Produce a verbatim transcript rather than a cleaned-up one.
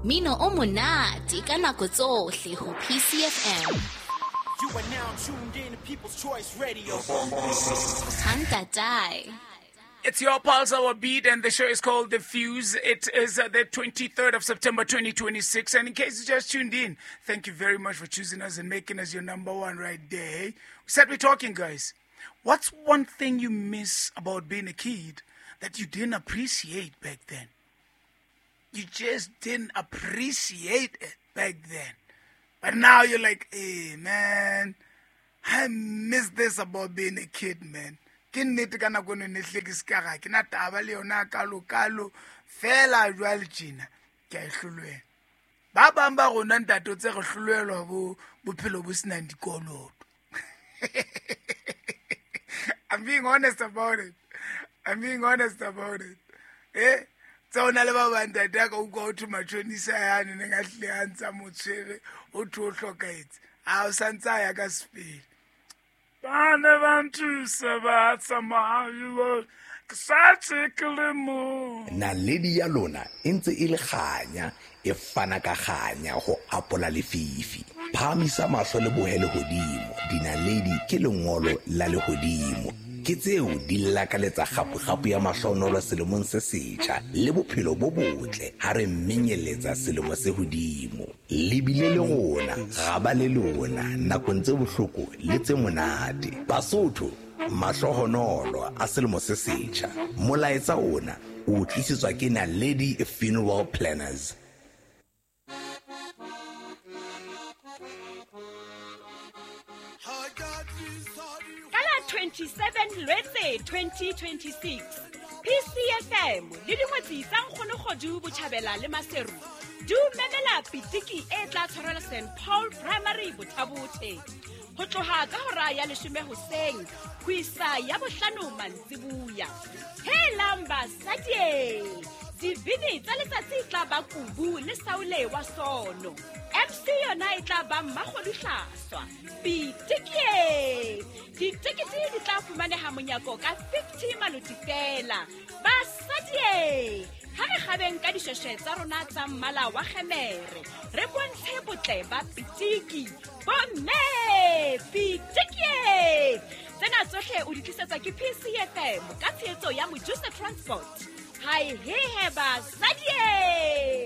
Mino o monate ka nako tsohle ho P C F M. You are now tuned in to People's Choice Radio. Hantatai. It's your pulse, our beat, and the show is called The Fuse. It is uh, the twenty-third of September, twenty twenty-six. And in case you just tuned in, thank you very much for choosing us and making us your number one right there. We said we're talking, guys. What's one thing you miss about being a kid that you didn't appreciate back then? You just didn't appreciate it back then. But now you're like, hey, man, I miss this about being a kid, man. Ke nnete ka nako eno ne hle ke se ka ga ke na taba le yona kalo-kalo, fela jwale tjena, ke a e hlolohelwa. Ba bang ba rona ntate o tse re hlolohelwa bo bophelo bo senang dikoloto. I'm being honest about it. I'm being honest about it. Eh? Tsa ona le ba bang ntate a ka utlwa ho thwe matjhonisa yane neng a hlile a ntsa mo tshwere, ho thwe o hlokahetse. A o santse a ya ka sepele. Ba ne ba nthusa ba tsamaya, ke sa tshekile mo. Naledi ya lona e ntse e le kganya, e fana ka kganya ho apola lefifi. Phahamisa mahlo le bohe lehodimo, dinaledi ke lengolo la lehodimo. Ke tseo di lakaletsa kgapo-kgapo ya mahlonolo selemong se setjha le bophelo bo botle ha re menyeletsa selemo se hodimo. Le bile le rona, ra ba le lona nakong tse bohloko le tse monate. Basotho, mahlohonolo a selemo se setjha. Molaetsa ona o tlisetswa ke Naledi Funeral Planners. twenty-seven Lwetse twenty twenty-six P C F M le dingwetsi tsa Nkgonokgodu Botjhabela le Maseru di o memela pitiki e tla tshwarelwa Saint Paul Primary Bothabothe ho tloha ka hora ya leshome hoseng ho isa ya bohlano mantsibuya. Helang basadi, dibini tsa letsatsi e tla ba Kubu le Saule wa Sono. M C yona e tla ba Mmakgodu Hlaswa. Pitiki! Ditekete di tla fumaneha monyako ka fifty maloti fela. Basadi, ha re kgabeng ka dishweshwe tsa rona tsa mmala wa kgemere, re bontshe botle ba pitiki. Bomme, pitiki! Tsena tsohle o di tlisetswa ke P C F M ka tshehetso ya Mojusa Transport. Hai he he basadi!